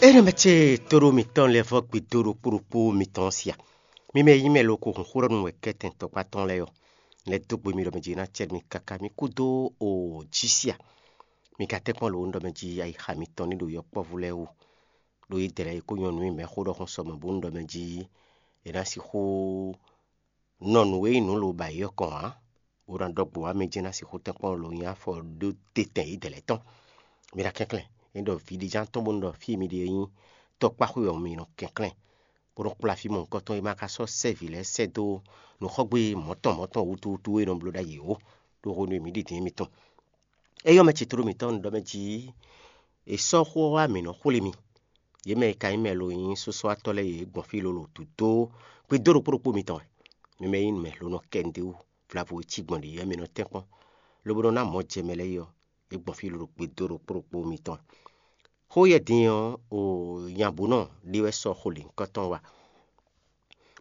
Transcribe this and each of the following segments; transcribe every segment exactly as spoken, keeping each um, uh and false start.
Énɛ́ mɛ ce tóɖó mǐtɔn lɛ́ɛ vɔ́ gbe dó ɖokpó ɖokpó mitɔn ɔ́ sia. Mi mɛ e nyí mɛ loko hun xó ɖɔ nú wɛ kɛ́tɛn tɔkpá tɔn lɛ́ɛ ɔ́, lɛ́ dó gbe mi ɖɔ mɛ jǐ ná cɛ mi káká mi kúdó o jí sia. Mi ka tɛ́nkpɔ́n lǒ un ɖɔ mɛ jí ayixa mitɔn ní ɖo yɔkpɔ́vú lɛ́ɛ wú. Ɖó yědɛɛ lɛ́ɛ yi kó nyɔ́ nú mì mɛxó ɖɔhun sɔ mɔ̌ bónú ɖɔ mɛ jí è nǎ sixú nɔ nǔ e nyí nǔ lobǎyi ɔ́ kɔn ǎ, bó ná ɖɔ gbo wá mɛ jɛ́n ná sixú tɛ́nkpɔ́n lo nyi afɔ ɖó tɛ́tɛn yědɛɛ lɛ́ɛ tɔn. Mi ná kɛnklɛ́n, é ɖɔ vǐɖéján tɔn bónú ɖɔ fí e mi ɖe é nyí tɔkpáxwé ɔ́, mi nɔ kɛnklɛ́n, bó nɔ́ kplá fí mɔ̌hunkɔtɔn e ma ka sɔ́ sɛ́ vǐ lɛ́ɛ sɛ́ dó nǔxɔgbé mɔ̌tɔn mɔ̌tɔn wútu wútu e nɔ bló ɖ'ayǐ ó, ɖó hwenu e mǐ ɖi din émí tɔn. É yɔ́ mɛ ce tlóló mǐtɔn ɖɔ mɛ jí è sɔ́ xó ɔ́ wá mǐ nɔ xwlé mi. Yě mɛ e ka nyí mɛ lo nyí sɔ́sɔ́watɔ́ lɛ́ɛ yě gbɔn fí lolo dǒdó gbedó ɖokpó ɖokpó mitɔn wɛ. Mi mɛ e nyí mɛ lo nɔ kɛ nǔɖé wú vlavo e cí gbɔn ɖě wɛ mi nɔ tɛ́nkpɔ́n, lobo nɔ ná mɔ̌ jɛ mɛ lɛ́ɛ yi ɔ́, yě gbɔn fí lolo gbedó ɖokpó ɖokpó mitɔn wɛ. Xó yɛ din ɔ́, o nyabǔnɔ ɖé wɛ sɔ́ xo lěhunkɔtɔn wá,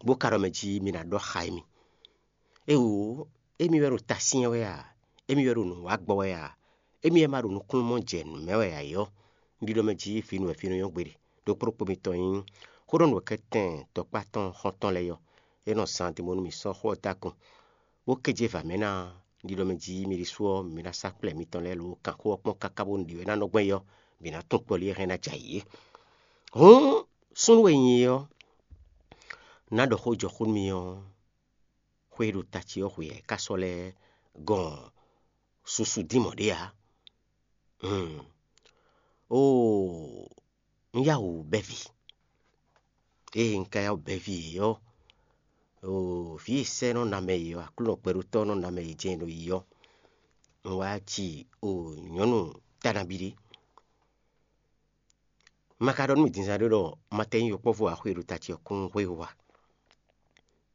bó ka ɖɔ mɛ jí mi ná ɖɔ xá émí. Éwǒ, émí wɛ ɖo ta syɛ́n wɛ a? Émí wɛ ɖo nǔ wa gbɔ wɛ a? Émí wɛ ma ɖo nukúnnú mɔ jɛ nǔ mɛ wɛ ǎ é ɔ́, un ɖiɖɔ mɛ jí vǐ nú wɛ fí nɔ nyɔ́ gbeɖé. Ɖokpó ɖokpó mitɔn nyí xó ɖɔ nǔ wɛ kɛ́tɛn tɔkpá tɔn xɔ́ntɔn lɛ́ɛ ɔ́, é nɔ zán din bónú mǐ sɔ́ xó ɔ́ dó akɔn, bó kéje vǎ mɛ ná. Un ɖiɖɔ mɛ jí mi ɖésú ɔ́, mi ná sá kplɛ̌ mitɔn lɛ́ɛ lo kanxó ɔ́ kpɔ́n káká bónú ɖě wɛ ná nɔ gbɔn é ɔ́, mǐ ná tunwun kpɔ́ lí e hɛn ná jɛ ayǐ é. Hǔn súnnu e nyi é ɔ́, ná ɖɔ xó jɔ xó nú mi ɔ́, xwé e ɖo ta ce ɔ́ xwe ɛ ká sɔ́ lɛ́ gɔn susu dín mɔ̌ ɖé ǎ. Hmm. Oo, un yá wǔ bɛ́ vǐ. Ée un ka yá wǔ bɛ́ vǐ é ɔ́, oo, vǐ e sɛ́ nɔ ná mɛ yě ɔ́, Aklúnɔ gbɛɖótɔ́ nɔ ná mɛ yě jɛ́n ɖo yi ɔ́, un wá ji o nyɔ̌nu tánabi ɖé. Un ma ka ɖɔ nú mì din zán ɖé ɖɔ un ma tɛ nyí yɔkpɔ́vú ǎ xwe e ɖo ta ce ɔ́ kún hwe wú a?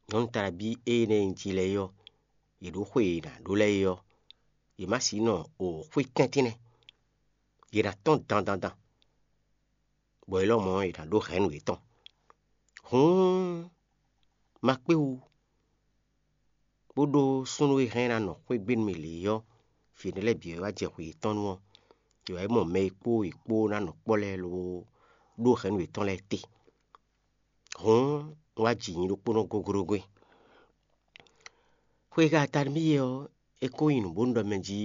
Nyɔ̌nu Talabí énɛ́ e un ji lɛ́ɛ é ɔ́, yě ɖó xwe e è nǎ ɖó lɛ́ɛ é ɔ́, yě má sixú nɔ o xwé tɛ́ntin nɛ́; yě ná tɔ́n dandandan, bɔ é lɔmɔ̌ è nǎ ɖó hɛ̌nnu yětɔn. Hǔn, ma kpé wú, bó ɖó súnnu e hɛn ná nɔ xwé gbe nú mì lě ɔ́, vǐ énɛ́ lɛ́ɛ bǐ wɛ wá jɛ xwe yětɔn nu ɔ́, yě wá yi mɔ mɛ e kpó yě kpó ná nɔ kpɔ́ lɛ́ɛ lobo ɖó hɛ̌nnu yětɔn lɛ́ɛ te. Hǔn, un wá ji nyi ɖokpónɔ goglogo e. Xwe e ka ta nú mì é ɔ́, é ko nyí nǔ bónú ɖɔ mɛ jí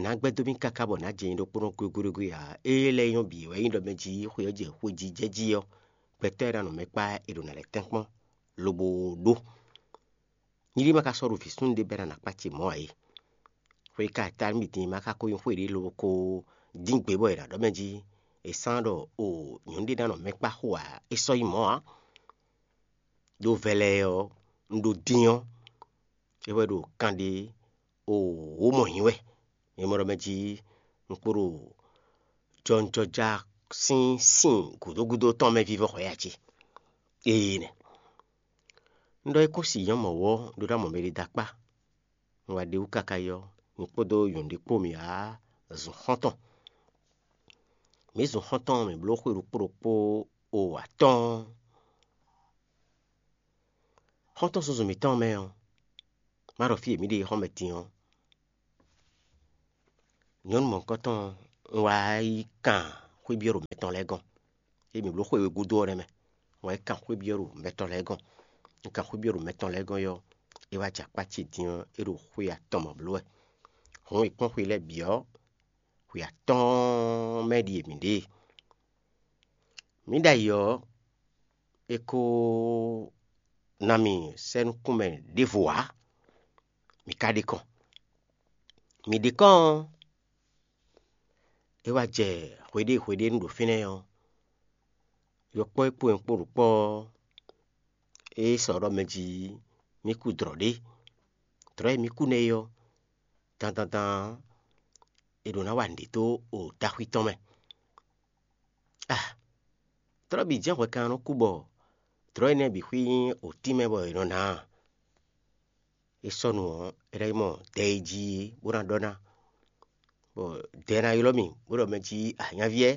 nǎ gbɛ́ dó mì káká bɔ nǎ jɛ nyi ɖokpónɔ goglogo e ǎ. Ée lɛ́ɛ nyɔ́ bǐ wɛ nyí ɖɔ mɛ jí xwe ɔ́ jɛ xwe jí jɛ jí ɔ́, gbɛtɔ́ e ná nɔ mɛ kpá è ɖo nǎ lɛ́ tɛ́nkpɔ́n lobo ɖó. Nyíɖí ma ka sɔ́ ɖo vǐ súnnu ɖé bɛ́ ná nǎ kpá ce mɔ̌ ǎ é. Xwe e ka ta nú mì din ma ka ko nyí xwe ɖé lobo ko dín gbe bɔ è nǎ ɖɔ mɛ jí è sán ɖɔ o nyɔ̌nu ɖé ná nɔ mɛ kpá xo ǎ, é sɔ́ nyí mɔ̌ ǎ. Ɖó vɛlɛ ɔ́, un ɖo din ɔ́, é wɛ ɖo kanɖé o wǒ mɔ nyí wɛ. Nyɛ mɔ ɖɔ mɛ jí un kpo ɖo jɔnjɔja sín sin gǔdo gúdo tɔn mɛ vívɔ́ xɔ yá ce. Ee nɛ. Un ɖɔ é kún si nyɔ́ mɔ̌ ɔ́, un ɖó ná mɔ mɛ ɖé dó akpá. Un wá ɖe wú káká yi ɔ́, nyɛ kpódó nyɔ̌nu ɖé kpó mǐ wá zun xɔ́ntɔn. Mǐ zun xɔ́ntɔn mǐ bló xwe ɖokpó ɖokpó o atɔ́ɔ́n. Xɔ́ntɔn susu mǐtɔn mɛ ɔ́, má ɖɔ fí e mǐ ɖe xɔ́mɛ din ɔ́, nyɔ̌nu mɔ̌hunkɔtɔn un wá yi kan xwé byɔ́ ɖo mɛ tɔn lɛ́ɛ gɔ́n. Ée mǐ bló xwe e gúdo ɔ́ nɛ́ mɛ, un wá yi kan xwé byɔ́ ɖo mɛ tɔn lɛ́ɛ gɔ́n. Un kan xwé byɔ́ ɖo mɛ tɔn lɛ́ɛ gɔ́n ɔ́, é wá jɛ akpá ce din ɔ́, é ɖo xwe atɔn mɔ bló wɛ. Hǔn è kpɔ́n xwe lɛ́ɛ bǐ ɔ́, xwe atɔ́ɔ́n mɛ ɖíe mǐ ɖe e. Mǐ ɖ'ayǐ ɔ́, è ko ná mì sɛ́ nukúnmɛ ɖěvo ǎ; mǐ ka ɖe kɔn. Mǐ ɖe kɔn ɔ́, é wá jɛ hweɖée hweɖée nú ɖo fínɛ́ ɔ́, yɔkpɔ́ e kpó nyɛ kpó ɖo kpɔ́ ɔ́, é sɔ ɖɔ mɛ jí mì kú dlɔ̌ ɖé. Dlɔ̌ e mǐ kú nɛ́ é ɔ́, dandandan ɔ́, è ɖǒ ná wa nǔɖé dó o daxwi tɔn mɛ. Ah, dlɔ̌ bǐ jɛ́n hwɛkan nɔ kú bɔ dlɔ̌ énɛ́ bǐ xwí nyí o tínmɛ bɔ è nɔ ná a? É sɔ́ nu ɔ́, é ná yi mɔ dɛ e jí é bó ná ɖɔ ná, bɔ dɛ ná ylɔ́ mì bó ɖɔ mɛ jí anyáví ɛ.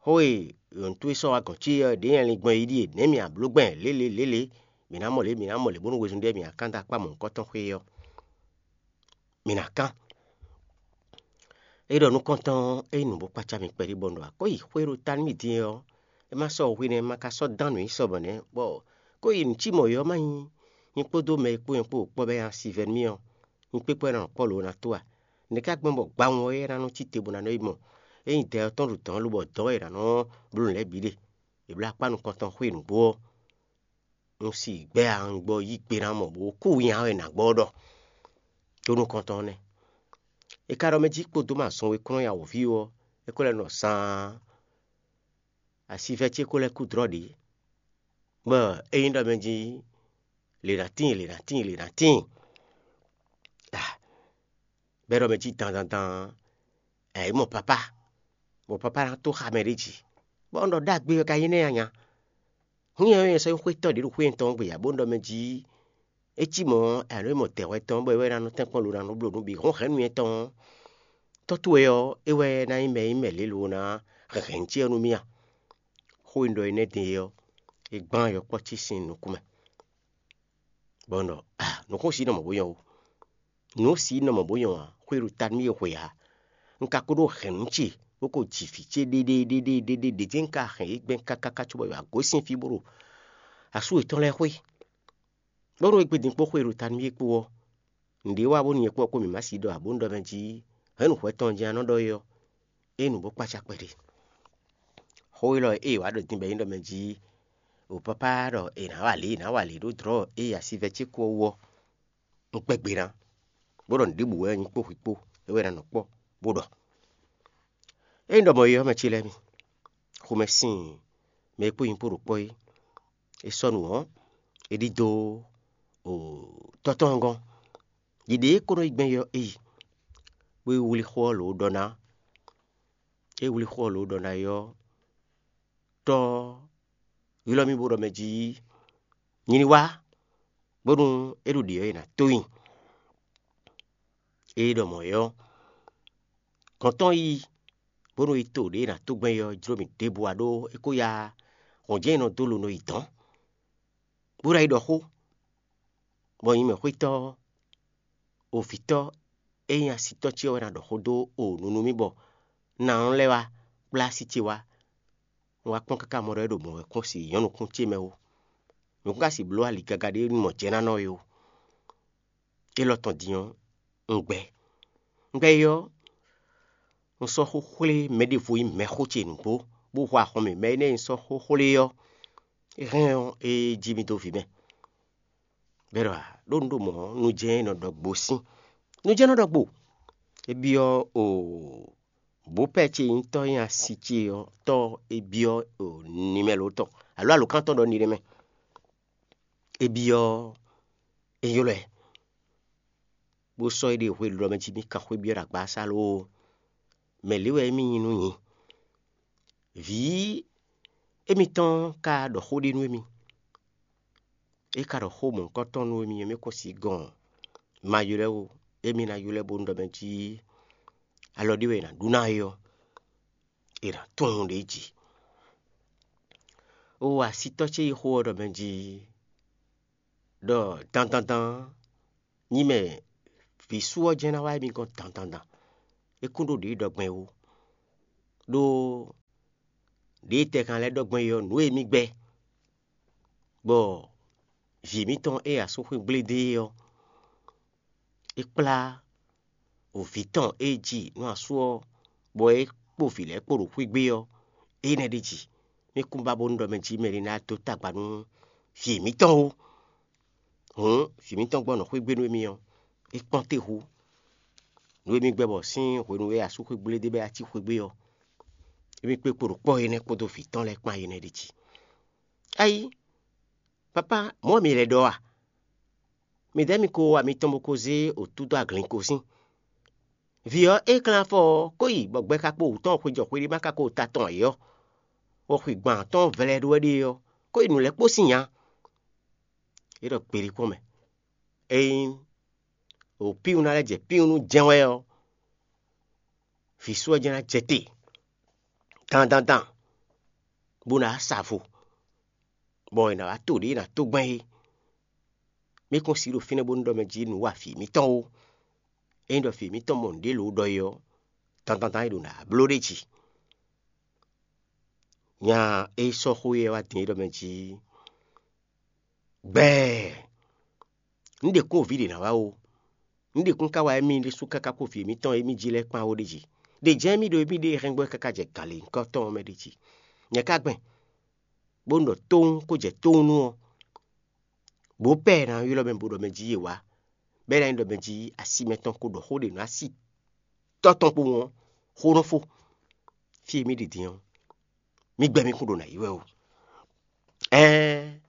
Xó e yɔ̌ntú e sɔ́ wá gɔ̌n ce ɔ́ ɖě nyɛ lin gbɔn yi ɖíe: nɛ̌ mǐ a blǒ gbɛn lělě lělě, mǐ ná mɔ lě, mǐ ná mɔ lě bónú wezun ɖé mǐ a kán dó akpá mɔ̌hunkɔtɔn xwé ɔ́, mǐ ná kán. É ɖɔ nukɔntɔn ɔ́, é nyí nǔ bó kpácá mì kpɛɖé bɔ un ɖɔ akɔ́ yi xwé ɖo ta nú mì din ɔ́, é má sɔ́ hwe nɛ́, má ka sɔ́ dán nǔ nyi sɔ́ mɔ̌ nɛ́, bɔ kó yi nǔ cí mɔ̌ ɔ́ má nyí nyi kpódó mɛ e kpó nyɛ kpó ɖo kpɔ́ bɔ é nya sivɛ́ nú mì ɔ́, nyi kpékpɔ́ é ná nɔ kpɔ́ lǒ ná tó a? Nɛ̌ ká gbɔn bɔ gbawun ɔ́ é ná nɔ cí te bó ná nɔ yi mɔ? Ényí dɛ ɔ́ tɔn ɖo dɔ̌n lobɔ dɔ̌n wɛ è nǎ nɔ bló nǔ lɛ́ɛ bǐ ɖe. È bló akpá nukɔntɔn xwé nǔgbó ɔ́, un si gbɛ́ a un gbɔ yí gbe ná mɔ bó kú nya wɛ nǎ gbɔ ɖɔ. Tó nukɔntɔn nɛ́. È ka ɖɔ mɛ jí kpódó ma zɔn we kplɔ́n ya wǒví ɔ́, é ko lɛ́ nɔ saan. Asivɛ́ ce ko lɛ́ kú dlɔ́ ɖě, bɔ é nyí ɖɔ mɛ jí lě ná tíin lě ná tíin lě ná tíin. Bɛ́ ɖɔ mɛ jí dandandan ɛ é mɔ papá, bɔ papá ná tó xa mɛ ɖé jí, bɔ un ɖɔ ɖagbe wɛ ka nyí nɛ́ anya. Hǔn nyɛ ɔ́, nyɛ sɔ́ nyí xwétɔ́ ɖě ɖo xwé tɔn gbe ǎ, bó un ɖɔ mɛ jí é cí mɔ̌ ɔ́, ɛ nɔ nyí mɔ dɛ̌ wɛ tɔn bɔ é wɛ ná nɔ tɛ́nkpɔ́n lo ná nɔ bló nǔ bǐ hɔn hɛ̌nnu nyɛ tɔn ɔ́, tɔ́ towe ɔ́, é wɛ ná nyí mɛ e nyí mɛ lě lo ná hɛn hɛ̌nnu ce ɔ́ nú mì a? Xó e un ɖɔ énɛ́ din é ɔ́, é gbán yɔkpɔ́ ce sín nukún mɛ, bɔ un ɖɔ a nǔkún sí nɔ mɔ̌ bó nyɔ́ ó. Nǔ sí nɔ mɔ̌ bó nyɔ́ ǎ, xwé ɖo ta nú mì e hwe ǎ. Un ka ko ɖó hɛ̌nnu ce bó ko ji vǐ ce ɖéɖéɖéɖéɖé ɖě jɛ́n un ka hɛn yě gbɛn káká cóbɔ yě wá gosín fí bó ɖo asú yětɔn lɛ́ɛ xwé. Bónú égbé din kpó xwe e ɖo ta nú mì é kpó ɔ́, nǔɖé wa bónú nyɛ kpó ɔ́ kpó mǐ má sí ɖɔ ǎ, bónú ɖɔ mɛ jí hɛ̌nnu hwɛ tɔn jɛ́n a nɔ ɖɔ é ɔ́, é nǔ bó kpácá kpɛɖé. Xó élɔ́ e é wǎ ɖo din bɔ é nyí ɖɔ mɛ jí o papá ɖɔ è nǎ wa lě, è nǎ wa lě ɖó dlɔ̌ e asivɛ ce kú ɔ́ wú ɔ́, un kpɛ́ gbe ná, bó ɖɔ nǔɖé bǔ wɛ nyí kpó hwi kpó é wɛ ná nɔ kpɔ́, bó ɖɔ. Ényí ɖɔ mɔ̌ é ɔ́, mɛ ce lɛ́ɛ mi, xomɛ sín mɛ e kpó nyí kpó ɖo kpɔ́ é, è sɔ́ nǔ ɔ́, è ɖidó tɔ́ tɔn gɔ́n. Ɖiɖe e é ko nɔ yi gbɛn é ɔ́, é yi, bó yi wlí xó ɔ́ lǒ ɖɔ ná. É wlí xó ɔ́ lǒ ɖɔ ná é ɔ́, tɔ́ ɔ́ ylɔ́ mì bó ɖɔ mɛ jí nyí ní wá, bónú é ɖo ɖě ɔ́, è nǎ tó nyi. Ée ɖɔ mɔ̌ é ɔ́, gɔ̌n tɔn yi, bónú yi to ɖě è nǎ tó gbɛn é ɔ́ jló mì ɖěbǔ ǎ, ɖó é ko yá hɔn jɛ́n è nɔ dó lo nɔ yi dɔ̌n, bó ná yi ɖɔ xó, bɔ nyí mɛxwétɔ́ ɔ́, ovǐtɔ́ e nyí asitɔ́ ce ɔ́ wɛ ná ɖɔ xó dó o nunu mì bɔ ná nɔ lɛ́ wá kplá así ce wá. Un wá kpɔ́n káká mɔ ɖɔ é ɖo mɔ̌ wɛ kɔn si nyɔ̌nukún ce mɛ ó. Nǔkún ka si bló ali gaga ɖé mɔ jɛ ná nɔ é ó. Élɔ́ tɔn din ɔ́, un gbɛ. Un gbɛ é ɔ́, un sɔ́ xó xwlé mɛɖěvo nyí mɛxó ce nǔgbó, bó hu axɔn mì mɛ énɛ́ e un sɔ́ xó xwlé é ɔ́, é hɛn ɔ́, é jí mì dó vǐ mɛ. Bɛ́ ɖɔ a ɖó un ɖo mɔ̌, nu jɛ́n nɔ ɖɔ gbo sín. Nu jɛ́n nɔ ɖɔ gbo. É byɔ́ o bǒpɛ́ ce nyí tɔ́ nyi asi ce ɔ́ tɔ́ é byɔ́ o nimɛlo tɔn alo alǒkántɔn ɖɔ ni ɖé mɛ. É byɔ́ é ylɔ́ ɛ, bó sɔ́ é ɖe hwelú ɔ́ mɛ jí mì kan xwé byɔ́ ɖo agbasá lóó. Mɛ̌ lě wɛ émí nyí nú nyǐ? Vǐ émítɔn ka ɖɔ xó ɖé nú émí. É ka ɖɔ xó mɔ̌hunkɔtɔn nú émí, émí kún sixú gɔn ma ylɔ́ ɛ ó. Émí ná ylɔ́ ɛ bónú ɖɔ mɛ jí alɔ ɖé wɛ è nǎ ɖu ná é ɔ́, è nǎ tunwun ɖě jí. Ó asitɔ́ ce yi xó ɔ́ ɖɔ mɛ jí ɖɔ dandandan nyí mɛ vǐ sú ɔ́ jɛ́n ná wá émí gɔ́n dandandan. É kún ɖó ɖě ɖɔ gbɛn ó. Ɖó ɖěe tɛ kan lɛ́ɛ ɖɔ gbɔn é ɔ́, nǔ e mì gbɛ́, bɔ vǐ mǐtɔn e asú xwé gblé dó é ɔ́, é kplá vǐ tɔn e ji nú asú ɔ́, bɔ é kpo vǐ lɛ́ɛ kpo ɖo xwé gbé ɔ́, énɛ́ ɖ'é jí. Mì kún ba bónú ɖɔ mɛ jí mɛ ɖé ná dó tagba nú vǐ mǐtɔn ó. Hǔn vǐ mǐtɔn gbɔn nɔ xwé gbé nú émí ɔ́, é kpɔ́n te hú. Nǔ e mì gbɛ́ bɔ sín hwenu e asú xwé gblé dó bɔ é wá cí xwé gbé ɔ́, émí kpé kpo ɖo kpɔ́ énɛ́ kpódó vǐ tɔn lɛ́ɛ kpán énɛ́ ɖ'é jí. Ayí, papá, mɔ̌ mi lɛ́ ɖɔ a? Mi dɛ̌ mi ko wa mitɔn bó ko zé wǔtú dó aglin ko sín. Vǐ ɔ́, é klán afɔ ɔ́, kó yi bɔ gbɛ ka kpo wǔ tɔn xwejɔ xweɖé ma ka ko ta tɔn ǎ é ɔ́, bɔ xwigban tɔn vlɛ́ ɖó wɛ ɖe ɔ́, kó yi nǔ lɛ́ɛ kpó sín nya. É ɖɔ gbeɖé kpɔ́n mɛ. Ényí wǒ píwun ná lɛ́ jɛ píwun nú jɛ́n wɛ ɔ́, vǐ sú ɔ́ jɛ́n ná jɛ te dandandan, bó ná sa vo, bɔ è nǎ wá to ɖě è nǎ tó gbɛn é. Mì kún si ɖo fínɛ́ bónú ɖɔ mɛ jí nǔ wa vǐ mǐtɔn ó. Ényí ɖɔ vǐ mǐtɔn mɔ nǔɖé lǒ ɖɔ é ɔ́, dandandan é ɖo nǎ bló ɖ'é jí. Nya e sɔ́ xó éyɛ́ wá din é ɖɔ mɛ jí: Gbɛɛ! Un ɖe kún o vǐ ɖě ná wá ó. Un ɖe kún ka wá émí ɖésú káká kpó vǐ émítɔn e émí jí lɛ́ɛ kpán ó ɖ'é jí. Ɖě jɛ́n émí ɖo émí ɖe hɛngbɔ́ káká jɛ gǎn lě nyǐkɔ tɔn ɔ́ mɛ ɖ'é jí. Nyɛ ka gbɛn, bónú ɖɔ tóun kó jɛ tóun nú ɔ́, bǒ pɛ́ ná ylɔ́ mɛ bo ɖɔ mɛ jí yě wá, bɔ é ná nyí ɖɔ mɛ jí asi mɛtɔn ko ɖɔ xó ɖě nú asi tɔ́ tɔn kpowun ɔ́, xó nɔ fó. Fí e mì ɖi din ɔ́, mì gbɛ mì kún ɖo nǎ yi wɛ ó. Ɛɛn,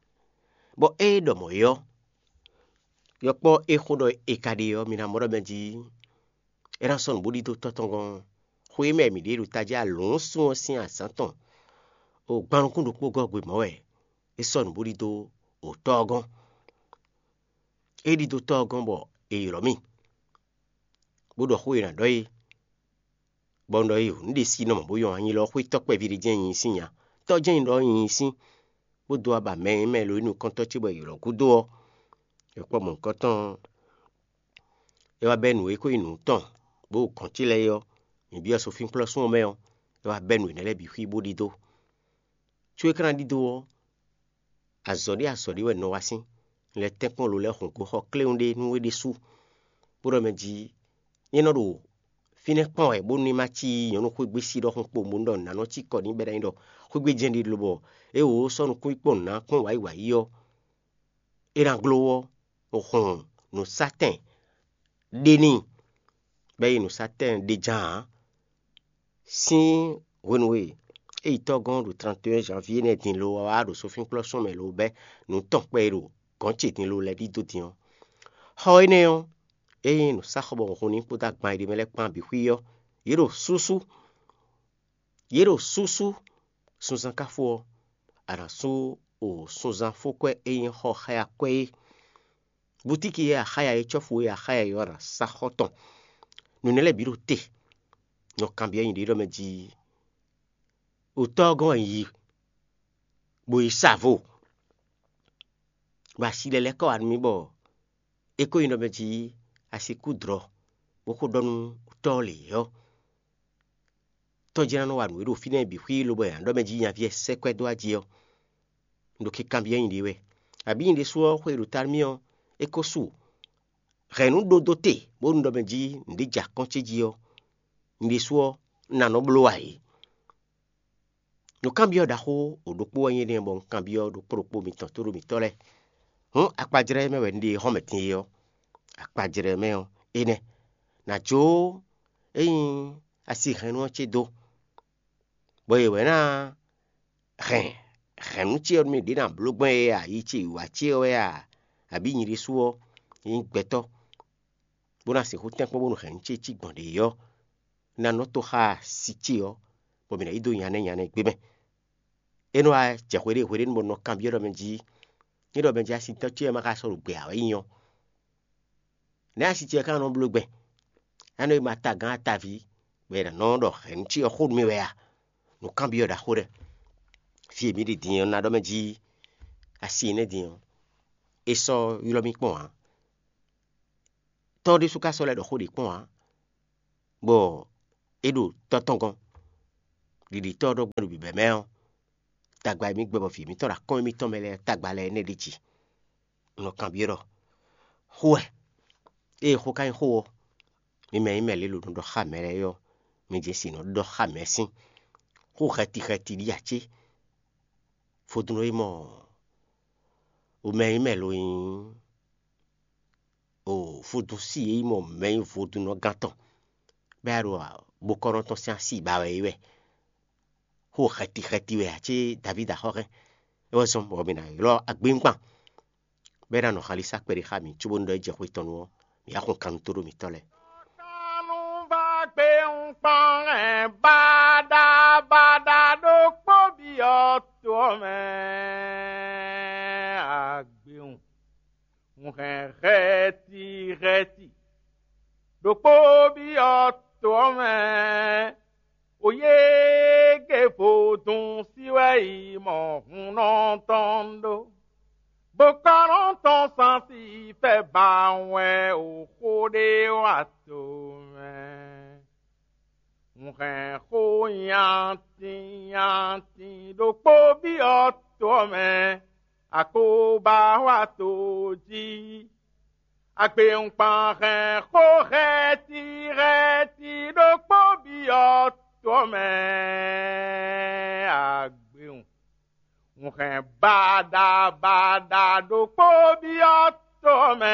bɔ ée ɖɔ mɔ̌ é ɔ́, yɔkpɔ́ e xó ɖɔ è ka ɖe ɔ́, mi ná mɔ ɖɔ mɛ jí é ná sɔ́ nǔ bó ɖidó tɔ́ tɔn gɔ́n. Xwe e mɛ mǐ ɖe ɖo tají alǔunsun ɔ́ sín azǎn tɔn, o gban nukún ɖokpó gɔ́ gbe mɔ̌ wɛ é sɔ́ nǔ bó ɖidó o tɔ́ ɔ́ gɔ́n. É ɖidó tɔ́ ɔ́ gɔ́n bɔ è ylɔ̌ mì, bó ɖɔ xó e è nǎ ɖɔ é, bɔ un ɖɔ é, nǔ ɖe sí nɔ mɔ̌ bó nyɔ́ anyi lɔ xwé tɔ́ kpɛví ɖé jɛ́n nyi sín nya. Tɔ́ jɛ́n nyi ɖɔ nyi sín, bó dó aba mɛ e mɛ lo nukɔntɔ́ ce bɔ è ylɔ̌ gúdo ɔ́, è kpɔ́ mɔ̌hunkɔtɔn ɔ́, é wá bɛ́ nǔ e ko nyí nǔ tɔn, bó ɖo gɔ̌n ce lɛ́ɛ é ɔ́, mǐ byɔ́ sofínkplɔ́sún ɔ́ mɛ ɔ́, é wá bɛ́ nǔ énɛ́ lɛ́ɛ bǐ xwí bó ɖidó. Có é ka ná ɖidó ɔ́, azɔ̌ ɖé azɔ̌ ɖé wɛ un nɔ wa sín; un lɛ́ tɛ́nkpɔ́n lo lɛ́ɛ hɔn gǒ xɔ kléwún ɖé nú we ɖésú, bó ɖɔ mɛ jí: Nyɛ nɔ ɖo fínɛ́ kpɔ́n wɛ bónú ní ma cí nyɔ̌nu xwégbé sí ɖɔhun kpowun bónú ɖɔ nǔ ná nɔ cí kɔ n'i bɔ é ná nyí ɖɔ xwégbé jɛ́n ɖé lobɔ é wǒ sɔ́ nukún yi kpɔ́n nǔ ná kpɔ́n wǎyi wǎyi ɔ́, é ná gló ɔ́, hɔn nǔsátɛn ɖé n'i, bɔ é yi nǔsátɛn ɖé ján ǎ. Sín hwenu e é yi tɔ́ gɔ́n ɖo tranteyɛ́n janvíé nɛ́ din lo ɔ́ wá ɖo sofínkplɔ́sún mɛ lo bɛ́ nǔ tɔn kpɛ e ɖo gɔ̌n ce din lo lɛ́ɛ ɖidó din ɔ́, xɔ énɛ́ ɔ́, é nyí nǔsáxɔbɔhunhun ní kpódó agban e ɖ'é mɛ lɛ́ɛ kpán bǐ xwí ɔ́, yě ɖo súsú. Yě ɖo súsú sunzán ká fó ɔ́, a nǎ sú o sunzán fó kwɛ́ e nyí xɔ xá akwɛ́ é. Butíki e a xá ya é, cɔ́fu e a xá ya é ɔ́ ná sá xɔ tɔn. Nǔ énɛ́ lɛ́ɛ bǐ ɖo te. Nɔ kanbyɔ́ nyi ɖě ɖɔ mɛ jí: Wǔtɔ́ ɔ́ gɔ́n wɛ un yi, bó yi sa vo, bɔ asi lɛ́ lɛ́ kɔ wá nú mì bɔ é ko nyí ɖɔ mɛ jí a sixú dlɔ́, bó xo ɖɔ nú wǔtɔ́ ɔ́ lě ɔ́, tɔ́ jɛ́n ná nɔ wa nǔ e ɖo fínɛ́ bǐ xwí lobo nya ɖɔ mɛ jí nyaví ɔ́ sɛ́ kwɛ́ dó ají ɔ́, un ɖo kikanbyɔ́ nyi ɖě wɛ. Abǐ nyi ɖésú ɔ́, xwe e ɖo ta nú mì ɔ́, é ko su hɛ̌nnu ɖó dó te, bónú ɖɔ mɛ jí nǔɖé jɛ akɔ́n ce jí ɔ́, nyi ɖésú ɔ́, un ná nɔ bló ǎ é. Nǔkanbyɔ́ ɖaxó wǒ ɖokpó wɛ nyí énɛ́ bɔ un kanbyɔ́ ɖokpó ɖokpó mitɔn tóɖó mǐtɔn lɛ́ɛ. Hǔn akpajlɛ́ mɛ wɛ un ɖe xɔ́mɛ din é ɔ́, akpajlɛ́ mɛ ɔ́, énɛ́: Nǎ jó é nyí asi hɛ̌nnu ɔ́ ce dó, bɔ yě wɛ ná hɛn hɛ̌nnu ce ɔ́ nú mì ɖě ná bló gbɔn é a, yi ce wǐwá ce ɔ́ wɛ a, abǐ nyi ɖésú ɔ́ nyí gbɛtɔ́, bó ná sixú tɛ́nkpɔ́n bónú hɛ̌nnu ce cí gbɔn ɖě ɔ́, ná nɔ tó xá asi ce ɔ́, bɔ mǐ ná yi dó nya nɛ́ nya nɛ́ gbé mɛ. É nɔ wá jɛ hweɖée hweɖénu bɔ un nɔ kanbyɔ́ ɖɔ mɛ jí: Ní ɖɔ mɛ jí asitɔ́ ce ɔ́ ma ka sɔ́ ɖo gbě ǎ wɛ nyí ɔ́, nɛ̌ asi ce ɔ́ ka nɔ bló gbɛn? É nɔ yi ma tagán ataví, bɔ è nǎ nɔ ɖɔ hɛ̌nnu ce ɔ́ xó nú mì wɛ a? Nǔkanbyɔ́ ɖaxó ɖɛ. Fí e mǐ ɖe din ɔ́, ná ɖɔ mɛ jí asi énɛ́ din ɔ́, é sɔ́ ylɔ́ mì kpɔ́n ǎ. Tɔ́ ɖésú ka sɔ́ lɛ́ ɖɔ xó ɖě kpɔ́n ǎ, bɔ é ɖo tɔ́ tɔn gɔ́n. Ɖiɖitɔ́ ɔ́ ɖɔ gbɛn ɖo bǐbɛ́ mɛ ɔ́, tagba e mǐ gbɛ bɔ vǐ mǐtɔn ɖo akɔ́n émítɔn mɛ lɛ́ɛ tagba lɛ́ɛ nɛ́ ɖ'é jí. Un nɔ kanbyɔ́ ɖɔ: Xó wɛ? Ée xó ka nyí xó ɔ́, mi mɛ e nyí mɛ lě lo nɔ ɖɔ xá mɛ lɛ́ɛ é ɔ́, mi jɛ sin nɔ ɖɔ xá mɛ sín. Xó xɛti xɛti ɖíe ǎ cé? Vodún e mɔ o mɛ e nyí mɛ lo nyí o vodún sí e nyí mɔ mɛ e nyí vodúnnɔgán tɔn, bɔ é ɖo bokɔ́nɔ tɔn sín asi ba wɛ é wɛ. Xó xɛti xɛti wɛ ǎ cé Davídi axɔ́ hɛn? É wɛ zɔ́n bɔ mǐ ná ylɔ́ agbéŋkpan, bɔ é ná nɔ xalísá kpɛɖé xá mǐ, cóbónú ɖɔ é jɛ xwé tɔn nu ɔ́, mǐ yá xun kannú tó ɖo mǐtɔn lɛ́ɛ. Kannú va gbé ŋkpɔ́n hɛn baɖa baɖa ɖokpó byɔ́ to ɔ́ mɛ agbewun. Un hɛn xɛti xɛti ɖokpó byɔ́ to ɔ́ mɛ. Oyége vodún sí wɛ yi mɔ hunnɔ tɔn ɖó, bó ka nɔ tɔn sansi fɛ ba wɛ o xó ɖé wa to mɛ. Un hɛn xó nyatin nyatin ɖokpó byɔ́ to ɔ́ mɛ, akóbá wá to jí. Agbewungban hɛn xó hɛ́ti hɛ́ti ɖokpó byɔ́ to ɔ́ mɛ, agbewun. Un hɛn baɖa baɖa ɖokpó byɔ́ to ɔ́ mɛ,